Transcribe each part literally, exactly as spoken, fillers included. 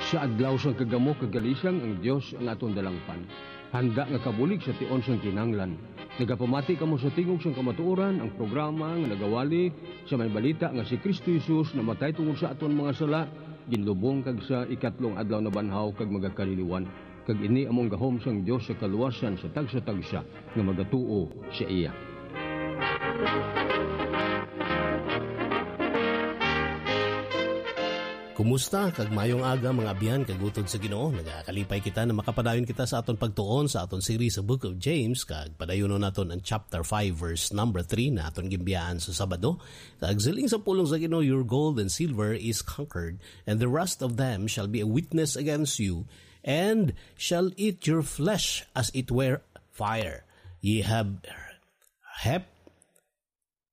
Sa adlaw sang kagamo kag kalisang, ang Dios ang aton dalangpan. Handa nga kabulig sa tion sang kinahanglan. Nagapamati kamo sa Tingog sang Kamatuoran, ang programa nga nagawali sa may balita nga si Cristo Jesus namatay tungod sa aton mga sala, ginlubong kag sa ikatlong adlaw nabanhaw kag magakaliliwan. Kag ini amo ang gahom sang Dios sa kaluwasan sa tagsa-tagsa nga magatuo sa iya. Kumusta kag mayong aga, mga abyan kag utod sa Ginoo? Nagakalipay kita na makapadayon kita sa aton pagtuon sa aton series sa Book of James, kag padayunon naton ang chapter five, verse number three na aton ginbiyaan sa Sabado. Kag siling sa pulong sa Ginoo, "Your gold and silver is conquered, and the rust of them shall be a witness against you, and shall eat your flesh as it were fire. Ye have heaped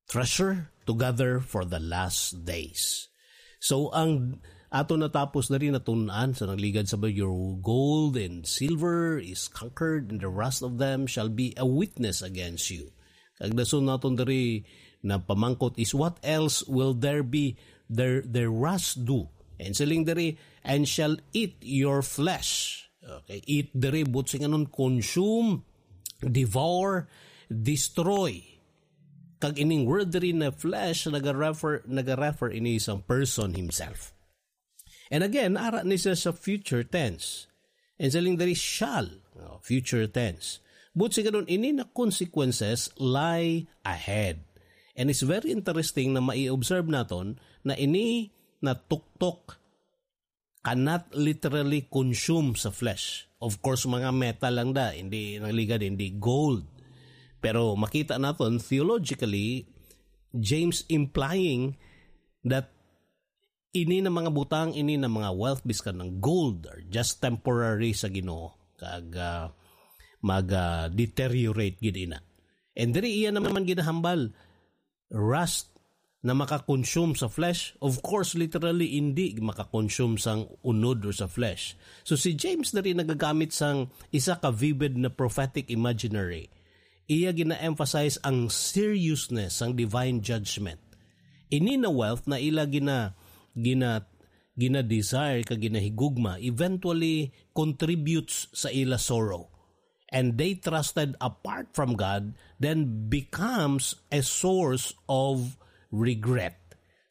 treasure to gather for the last days." So, ang ato natapos na rin natun-an sa nangligad sa, "Your gold and silver is conquered, and the rust of them shall be a witness against you." Kag dason naton diri na pamangkot is, "What else will there be their, their rust do?" And siling diri, "And shall eat your flesh." Okay, eat diri, buot silingon, consume, devour, destroy. Kag ining word diri na flesh, nagarefer, nagarefer ini sang person himself. And again, ara ni siya sa future tense. And siling diri, "shall," oh, future tense. Buot silingon, ini na consequences lie ahead. And it's very interesting na mai-observe naton na ini na tuktok cannot literally consume sa flesh. Of course, mga metal lang da, hindi nangligad, hindi gold. Pero makita naton theologically, James implying that ini na mga butang, ini na mga wealth, biskan ng gold, are just temporary sa Ginoo. Kag, ah, mag, ah, deteriorate gid ina. And diri iya naman ginahambal, rust na makakonsume sa flesh? Of course, literally, hindi makakonsume sang unod or sa flesh. So, si James diri nagagamit sang isa ka vivid na prophetic imaginary. Iya gina-emphasize ang seriousness sang divine judgment. Ini na wealth na ila gina-, gina-, gina-desire kag ginahigugma eventually contributes sa ila sorrow. And they trusted apart from God, then becomes a source of regret.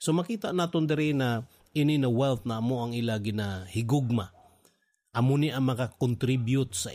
So, makita naton diri na ini na wealth na amo ang ila ginahigugma. Amo ni ang maka-contribute sa